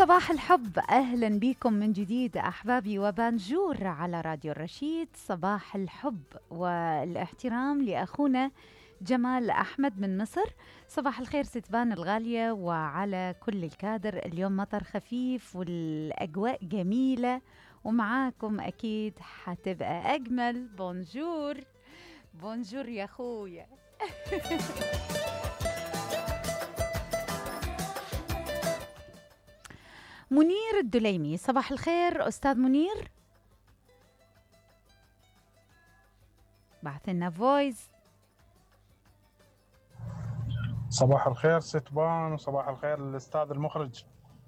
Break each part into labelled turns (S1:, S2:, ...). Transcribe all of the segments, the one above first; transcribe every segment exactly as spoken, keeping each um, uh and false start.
S1: صباح الحب، أهلا بكم من جديد أحبابي وبانجور على راديو الرشيد. صباح الحب والاحترام لأخونا جمال أحمد من مصر. صباح الخير ستبان الغالية وعلى كل الكادر. اليوم مطر خفيف والأجواء جميلة ومعاكم أكيد حتبقى أجمل. بونجور بونجور يا أخويا. منير الدليمي، صباح الخير أستاذ منير. بعث لنا فويس.
S2: صباح الخير ستبان وصباح الخير للأستاذ المخرج.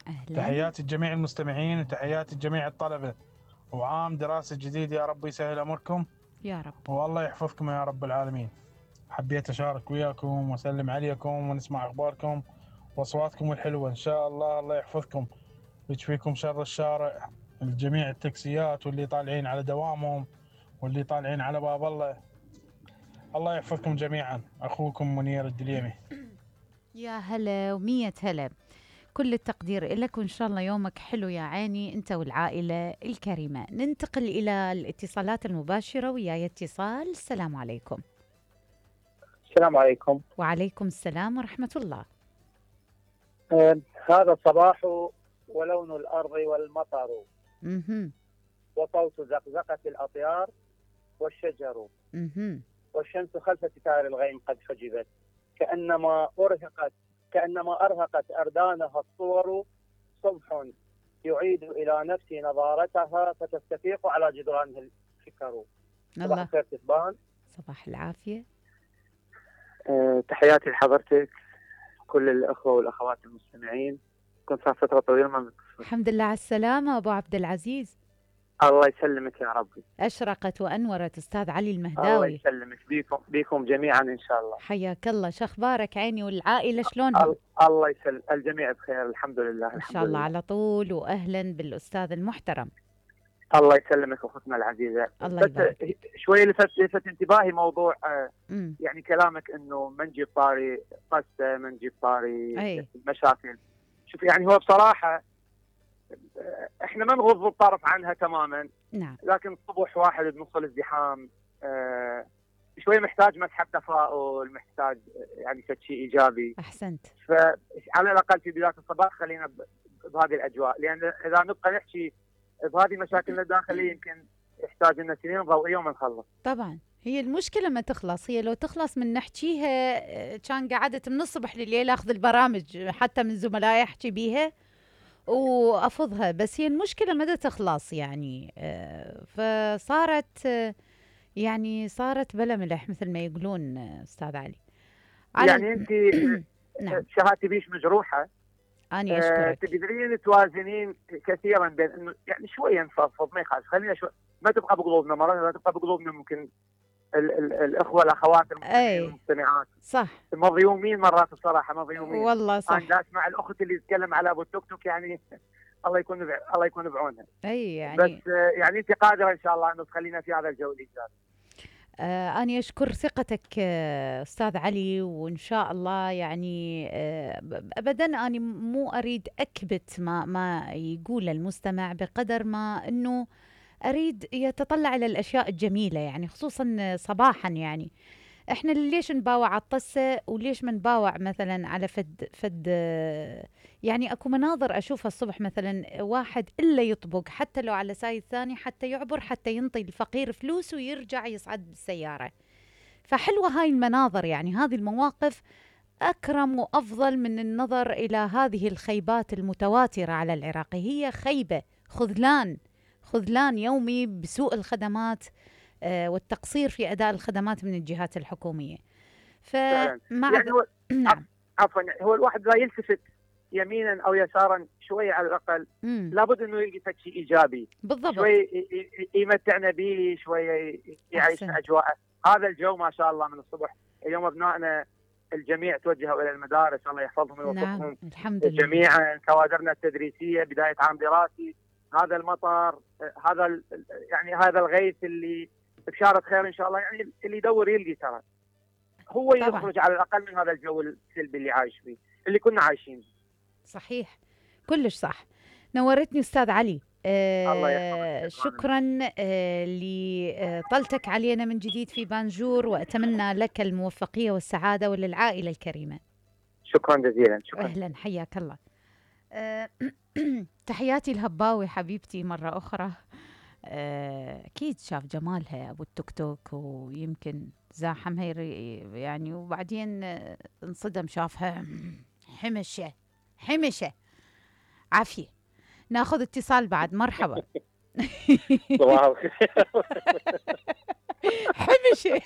S1: أهلا.
S2: تحياتي لجميع المستمعين وتحياتي لجميع الطلبة، وعام دراسي جديد يا رب يسهل أمركم
S1: يا رب
S2: والله يحفظكم يا رب العالمين. حبيت أشارك وياكم وأسلم عليكم ونسمع أخباركم وأصواتكم الحلوة إن شاء الله. الله يحفظكم ويكفيكم شر الشارع، الجميع التاكسيات واللي طالعين على دوامهم واللي طالعين على باب الله. الله يحفظكم جميعا. أخوكم منير الدليمي.
S1: يا هلا ومية هلا، كل التقدير لك وإن شاء الله يومك حلو يا عيني أنت والعائلة الكريمة. ننتقل إلى الاتصالات المباشرة. وياي اتصال. السلام عليكم.
S3: السلام عليكم.
S1: وعليكم السلام ورحمة الله.
S3: آه هذا الصباح ولون الأرض والمطر
S1: مهم.
S3: وصوت زقزقة الأطيار والشجر
S1: مهم.
S3: والشمس خلف ستار الغيم قد حجبت، كأنما أرهقت كأنما أرهقت أردانها الصور. صبح يعيد إلى نفسي نضارتها فتستفيق على جدرانه الفكر. صباح
S1: الله.
S3: الخير تسبان.
S1: صباح العافية.
S3: أه تحياتي لحضرتك كل الأخوة والأخوات المستمعين. كنت صار فترة طويلة ما نتصل.
S1: الحمد لله على السلامة أبو عبد العزيز.
S3: الله يسلمك يا ربي.
S1: أشرقت وأنورت أستاذ علي
S3: الله
S1: المهداوي.
S3: يسلمك بيكم بيكم جميعا إن شاء الله.
S1: حياك الله، شو أخبارك عيني والعائلة شلونهم؟
S3: ال- الله يسلم الجميع بخير الحمد لله.
S1: إن
S3: الحمد
S1: شاء الله
S3: لله.
S1: على طول. وأهلا بالأستاذ المحترم.
S3: الله يسلمك أختنا العزيزة.
S1: الله يبارك.
S3: بس شوي لفت لفت انتباهي موضوع آه،
S1: امم
S3: يعني كلامك إنه ما نجيب طاري قسة، ما نجيب طاري
S1: أي.
S3: مشاكل. شوف يعني هو بصراحة آه، احنا ما نغض الطرف عنها تماما،
S1: نعم.
S3: لكن صبح واحد بنص الازدحام آه، شوي محتاج مسحب تفاؤل، محتاج آه، يعني شيء ايجابي.
S1: أحسنت.
S3: فعلى الاقل في بدايه الصباح خلينا ب- بهذه الاجواء، لان اذا نبقى نحكي بهذه مشاكلنا الداخليه يمكن يحتاج لنا سنين ضوئيه وما نخلص.
S1: طبعا هي المشكلة ما تخلص. هي لو تخلص من نحكيها آه، كان قعدت من الصبح لليل أخذ البرامج حتى من زملائي أحكي بيها وأفضها، بس هي المشكلة ما تخلص يعني. آه، فصارت آه، يعني صارت بلا ملح مثل ما يقولون آه، أستاذ علي. على
S3: يعني انت
S1: نعم.
S3: شهادتي بيش مجروحه.
S1: أني
S3: آه،
S1: أشكرك.
S3: تقدرين توازنين كثيرا بين انه يعني شويه نفضفض ما يخالف، خلينا شوي ما تبقى بقلوبنا مرة، لا تبقى بقلوبنا ممكن ال ال الاخوه الاخوات المستمعين
S1: أي
S3: والمستمعات
S1: صح
S3: مظيومين مرات الصراحه مظيومين.
S1: والله صح.
S3: انا اسمع الاخت اللي تتكلم على ابو التوك توك يعني الله يكون بع... الله يكون بعونها.
S1: أي يعني
S3: بس آه، يعني انت قادره ان شاء الله انه تخلينا في هذا الجو الايجابي.
S1: آه أنا أشكر ثقتك آه أستاذ علي، وإن شاء الله يعني آه ب- أبدا أنا مو أريد أكبت ما, ما يقول المستمع بقدر ما أنه أريد يتطلع إلى الأشياء الجميلة، يعني خصوصا صباحا. يعني إحنا ليش نباوع على الطسة وليش ما نباوع مثلا على فد فد آه، يعني أكو مناظر أشوفها الصبح مثلا واحد إلا يطبق حتى لو على سايد ثاني حتى يعبر حتى ينطي الفقير فلوس ويرجع يصعد بالسيارة. فحلوة هاي المناظر، يعني هذه المواقف أكرم وأفضل من النظر إلى هذه الخيبات المتواترة على العراق. هي خيبة، خذلان خذلان يومي بسوء الخدمات آه، والتقصير في أداء الخدمات من الجهات الحكومية.
S3: فعلا
S1: فمع
S3: يعني هو
S1: نعم.
S3: عفوا هو الواحد لا يلتفت يمينا او يسارا شوي على الاقل،
S1: مم.
S3: لابد انه يلقى شيء ايجابي
S1: بالضبط.
S3: شوي ي- ي- يمتعنا به، شوي يعيش
S1: أحسنت.
S3: اجواء هذا الجو ما شاء الله من الصبح. اليوم ابنائنا الجميع توجهوا الى المدارس، الله يحفظهم ويوفقهم.
S1: نعم الحمد لله.
S3: جميعا كوادرنا التدريسيه بدايه عام دراسي. هذا المطر هذا ال- يعني هذا الغيث اللي بشاره خير ان شاء الله، يعني اللي يدور يلقي ترى هو
S1: طبعاً.
S3: يخرج على الاقل من هذا الجو السلبي اللي عايش فيه اللي كنا عايشين.
S1: صحيح كلش صح. نورتني أستاذ علي.
S3: الله
S1: آه
S3: يحفظك.
S1: شكرا آه لطلتك علينا من جديد في بانجور، وأتمنى لك الموفقية والسعادة وللعائلة الكريمة.
S3: شكرا جزيلا. شكرا.
S1: أهلا، حياك الله. آه تحياتي الهباوي حبيبتي مرة أخرى. آه، أكيد شاف جمالها أبو التوك توك، ويمكن زاحمها يري- يعني، وبعدين آه، انصدم شافها حمشة حمشة. عافية. ناخذ اتصال بعد. مرحبا.
S3: صباح الخير.
S1: حمشة.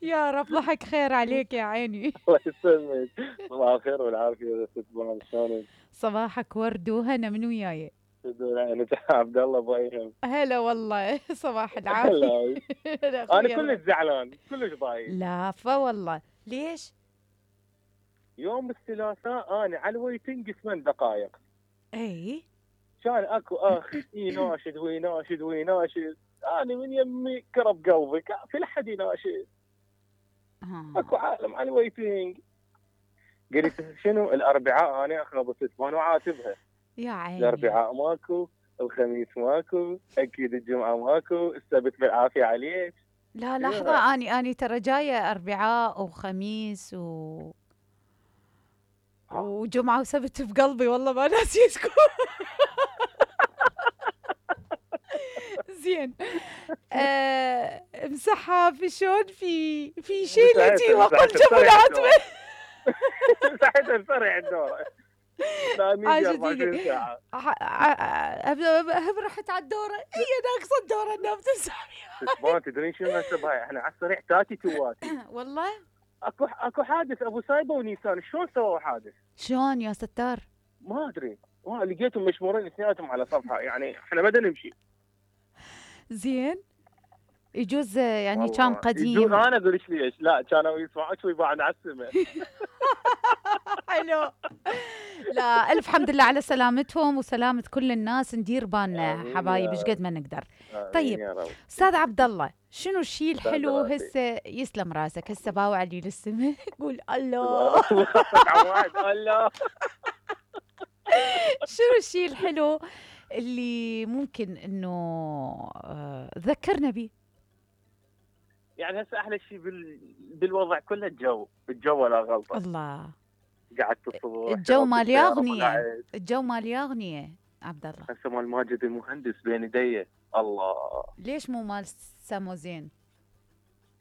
S1: يا رب ضحك خير عليك يا عيني.
S3: الله يسلمك. صباح الخير والعافيه يا ست بان، شلونك؟
S1: صباحك ورد وهنا، من وياي؟
S3: انا عبد الله بايهم.
S1: هلا والله. صباح العافية.
S3: هلا.
S1: هلا أخوي
S3: انا
S1: الله.
S3: كلش زعلان، كلش ضايق.
S1: لا فوالله. ليش؟
S3: يوم الثلاثاء انا على الويتنج ثمان دقائق،
S1: اي
S3: كان اكو اخ يناشد ويناشد ويناشد، انا من يمي كرب قلبك في حد يناشد.
S1: آه.
S3: اكو عالم على الويتنج. قلت شنو الاربعاء انا خبصت وانا عاتبها.
S1: يا عيني.
S3: الاربعاء ماكو، الخميس ماكو، اكيد الجمعه ماكو، السبت بالعافيه عليك.
S1: لا لحظة، اني اني ترى جاية اربعاء وخميس و وجمعة وسبت بقلبي، والله ما ناسيتكم. زين. آه، امسحها في شلون في في شيلتي وقل جملات.
S3: مسحتها بسرعه الدوره. لا نيجي أربعة وعشرين ساعه.
S1: هم رحت على الدورة، هي ناقصة الدورة انها بتمسح.
S3: ما تدرين شنو هسه بهاي، احنا على السريع تاتي تواتي.
S1: والله
S3: اكو اكو حادث ابو سايبه ونيسان، شلون سووا حادث؟
S1: شلون يا ستار؟
S3: ما ادري، ما لقيتهم مشمورين اثنيناتهم على صفحه، يعني احنا بدنا نمشي.
S1: زين. يجوز يعني
S3: والله.
S1: كان قديم.
S3: يجوز انا اقول لك ليش، لا كانوا يسمعوك ويبعد على السماء.
S1: حلو. لا الف حمد لله على سلامتهم وسلامة كل الناس. ندير بالنا
S3: آمين
S1: حبايب
S3: يا
S1: ايش قد ما نقدر.
S3: آمين
S1: طيب
S3: يا رب.
S1: استاذ عبد الله، شنو الشيء
S3: أستاذ
S1: الحلو
S3: راسي.
S1: هسه؟ يسلم راسك. هسه باوع علي للسماء. قول الله.
S3: عواد الله.
S1: شنو الشيء الحلو اللي ممكن انه آه، ذكرنا به؟
S3: يعني هسه احلى شيء بال... بالوضع كله الجو، الجو ولا غلطه.
S1: الله.
S3: قعدت الصبح
S1: الجو مال
S3: السيارة
S1: ياغنية.
S3: طلعت.
S1: الجو مال ياغنية عبد الله.
S3: هسه مال ماجد المهندس بين يدي. الله.
S1: ليش مو مال ساموزين؟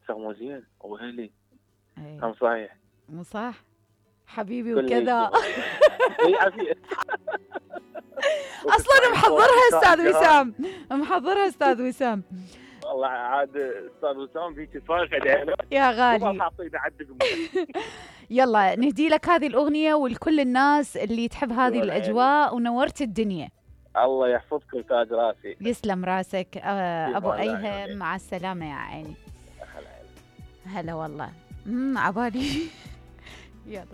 S3: سمو زين وهلي
S1: اي
S3: هم صحيح.
S1: مو صح حبيبي
S3: كل
S1: وكذا.
S3: اي عافيه.
S1: اصلا محضرها استاذ وسام، محضرها استاذ وسام.
S3: والله عاد استاذ وسام فيك فاخذ
S1: يا غالي.
S3: حاطين عدك.
S1: يلا نهدي لك هذه الاغنيه ولكل الناس اللي تحب هذه
S3: والله
S1: الاجواء، ونورت الدنيا.
S3: الله يحفظكم تاج راسي.
S1: يسلم راسك. آه، ابو
S3: الله
S1: ايهم
S3: يعينك.
S1: مع السلامه يا عيني. هلا والله. امم عبالي. يلا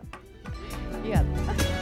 S1: يلا.